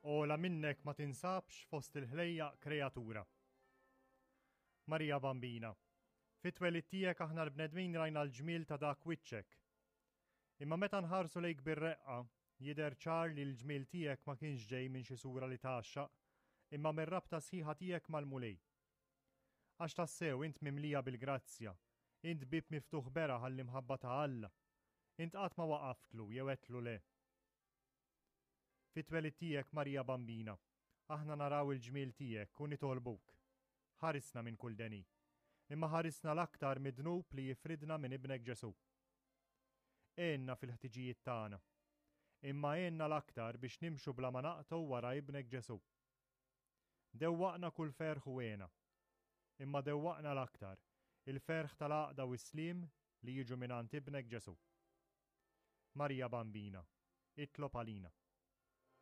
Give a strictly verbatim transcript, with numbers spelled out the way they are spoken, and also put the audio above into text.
Ogħla minnek ma tinsabx fost il-ħlejjaq kreatura. Marija Bambina, fit-twelid tiegħek aħna l-bnedmin rajna l-ġmiel ta' dak wiċċek. Imma meta nħarsu lejk bir-reqqa, jidher ċar li l-ġmiel tiegħek ma kienx ġej minn xi sura li tgħaxxaq, imma mir-rabta sħiħa tiegħek mal-Mulej. Għax tassew int mimlija bil-grazzja, int bieb miftuħ beraħ għall-imħabba ta' Alla, int qatt ma waqaftlu jew għedtlu le. Fit-twelid tiegħek, Marija Bambina, aħna naraw il-ġmiel tiegħek u nitolbuk. Ħarisna minn kull deni, imma ħarisna l-aktar mid-dnub li jifridna minn ibnek Ġesù. Għinna fil-ħtiġijiet tagħna, imma għinna l-aktar biex nimxu bla ma naqtgħu wara ibnek Ġesù. Dewwaqna kull ferħ u hena, imma dewwaqna l-aktar il-ferħ tal-għaqda u s-sliem li jiġu mingħand ibnek Ġesù. Marija Bambina, itlob għalina.